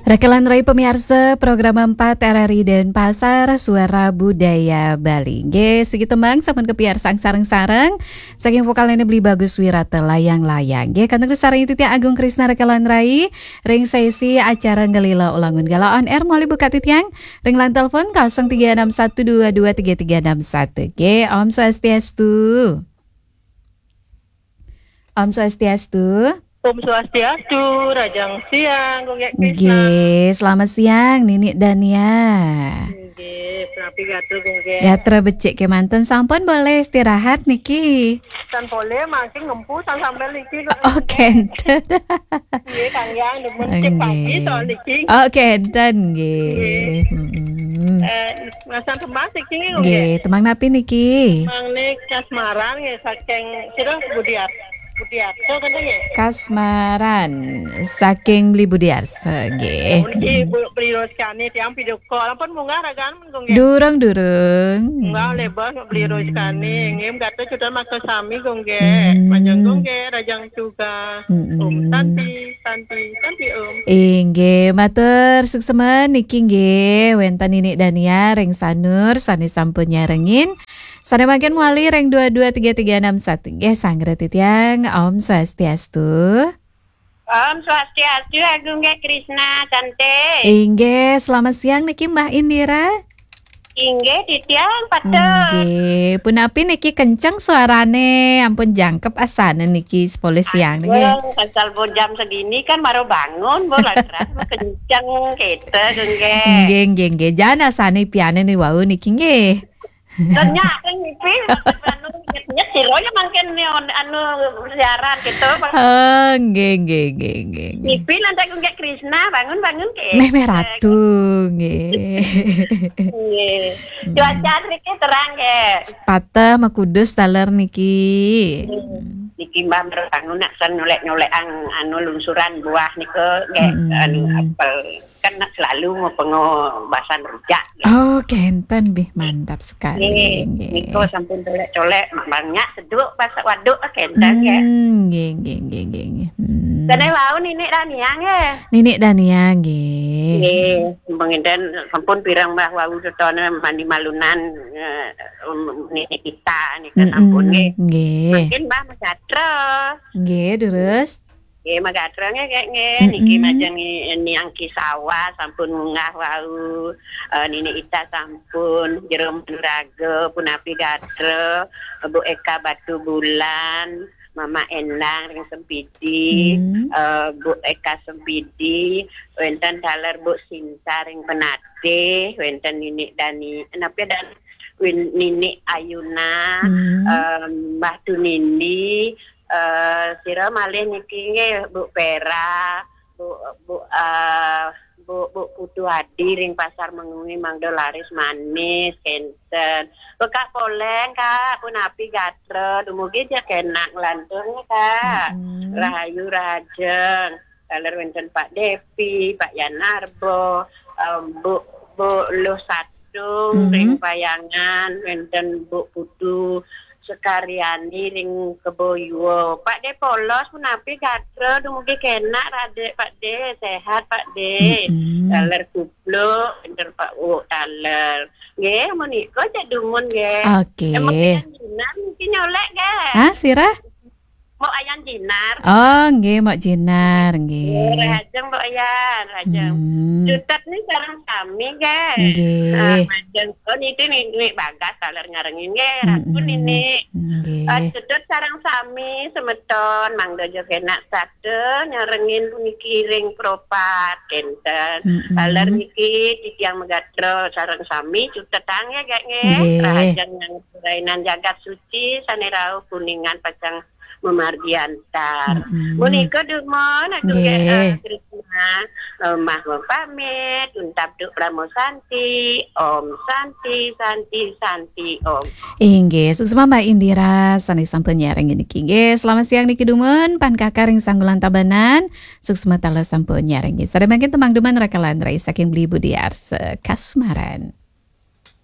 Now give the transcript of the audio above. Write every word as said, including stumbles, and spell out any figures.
Raka lan rai pamiarsa program empat R R I Denpasar, Suara Budaya Bali. Nggih, siki tembang sampun kapiarsang sareng-sareng saking vokalne Beli Bagus Wirata, Layang-Layang. Nggih, kantun sareng titiang Agung Krisna raka lan rai ring sesi acara Ngelila Ulangun Gala on Air, malih buka titiang ring line telepon kosong tiga enam satu dua dua tiga tiga enam satu. Nggih, Om Swastiastu. Om Swastiastu. Om Swastiastu, rahajeng siang, Gung Gek Krisna. Nggih, selamat siang, Nini Dania. Nggih, punapi gatra, Gung Gek? Gatra becik kemanten, sampun boleh istirahat niki? Tan boleh, mangkin ngempu tan sambil niki, Gung Gek. Oh, kenten. Nggih, Kang Yang, demen cek pagi. Nggih. Soal niki. Oh, kenten, nggih. Nggih. Mm-mm. Eh, Mas Antemas iki nggih, Gung Gek? Nggih, tembang napi niki? Tembang nih Kasmaran nggih, saking sira Budiar-, Budiarto kan nggih? Kasmaran saking Beli Budiarsa nggih. Nggih, Bu, Beli Roskani tiang video call. Ampun munggah ragan, Gung Gek? Durung, durung. Munggah lebar Beli Roskani. Hmm. Nggih, gatra cudan maksa sami, Gung Gek. Hmm. Majeng, Gung Gek, rahajeng juga. Mm-mm. Om Santi, Santi, Santi Om. Inggih, matur suksma niki nggih, wenten Nini Dania ring Sanur sane sampun nyarengin. Sane mangkin mawali ring dua dua tiga tiga enam satu. Nggih, sanggra titiang, Om Swastiastu. Om Swastiastu, Agung Gek Krisna, Santi. Inggih, selamat siang niki Mbah Indira. Inggih, titiang patut. Nggih, punapi niki kenceng suarane, ampun jangkep asane niki sepuluh siang niki. Aduh, asal pun jam segini kan baru bangun, Bu, lantas kenceng kita, nggih. Nggih, nggih, nggih. Jan asane pianin wau niki nggih. Ternyata ngipi, anu, nyet-nyet sira ya mangkin ni on-, anu, siaran gitu, Pak. Oh, nggih, nggih, nggih, nggih, nggih. Ngipi lantas Gung Gek Krisna, bangun, bangun, nggih. Meh, meh ratu, nggih. Nggih. Hmm. Cuaca mriki terang, nggih. Pateh makudus taler niki. Hmm. Niki Mbah Merbangun nak sen nyolek-nyolek ang-, anu, lungsuran buah nika, nggih, hmm, anu, apel. Kan nak selalu mau pengo basan rujak, nggih. Oh, kenten bih, mantap sekali, nggih, nggih. Nika sampun colek-colek, mak banyak seduk pas waduk, kenten, nggih. Hmm, nggih, nggih, nggih, nggih, nggih. Hmm. Kene wau Nini Dania, nggih. Nini Dania, nggih. Nggih, mangkin sampun pirang Mbah wau tetone mandi malunan, eh, um, Nini kita nika sampun, nggih. Mm-mm, nggih. Mangkin Mbah Megatra. Nggih, terus? Nggih, Megatra nggih, nggih. Mm-mm. Niki majeng ni-, Niang Kisawa sampun munggah wau, eh, Nini Ita sampun, Jero Manuraga, punapi gatra, Bu Eka Batu Bulan, Mama Endang ring Sempidi, hmm, eh, Bu Eka Sempidi, wenten taler Bu Sinta ring Penatih, wenten Nini Dani, napa Dan-, Win-, Nini Ayuna, hmm, em, Mbah Tunindi, eh, sira malih niki nggih, Bu Pera, Bu, Bu, eh, Bu, Bu Putu Adi ring Pasar Mengwi mangda laris manis, kenten. Kak Poleng, Kak, punapi gatra, dumugi ja kenak nglantung, Kak. Mm-mm. Rahayu rahajeng. Taler wenten Pak Devi, Pak Yanarbo, em, Bu, Bu Luh Satung, mm-mm, ring Payangan, wenten Bu Putu Sekaryani ring Kebo Yuwa. Pak De Polos, punapi gatra, dumugi kenak radik Pak De, sehat Pak De. Mm-mm. Taler kupluk, pinter Pak Wuk taler. Nggih, menika cek dumun nggih. Oke. Emang Ayan Jinar mungkin nyolek nggih. Ah, sira? Mbok Ayan Jinar. Oh, nggih, Mbok Jinar, nggih. Nggih, rahajeng Mbok Ayan, rahajeng. Hmm. Cutet nih sareng sami nggih. Nggih. Ah, majeng. Oh, niti nih, nih bagas taler ngarengin nggih, Ratu, mm-mm, nini. Nggih. Ah, cutet sareng sami semeton, mangda ja kenak satu nyarengin puniki ring Pro Pat, kenten. Mm-mm. Taler niki titiang Megatra sareng sami cutetang ya, Gek, nggih. Nggih. Rahajeng yang rainan jagat suci, sane rauh Kuningan pacang mamargi antar. Mm-mm. Menika dumun, Agung, nggih, Gek, eh, Krisna, eh, mah pamit, untab duk Brahma Santi, Om Santi, Santi, Santi, Om. Inggih, suksma Mbak Indira, sane sampun nyarengin niki. Nggih, selamat siang niki dumun, pan kakar ring Sanggulan Tabanan, suksma taler sampun nyarengin. Sada mangkin tembang dumun raka lan rai saking Beli Budi Arsa Kasmaran.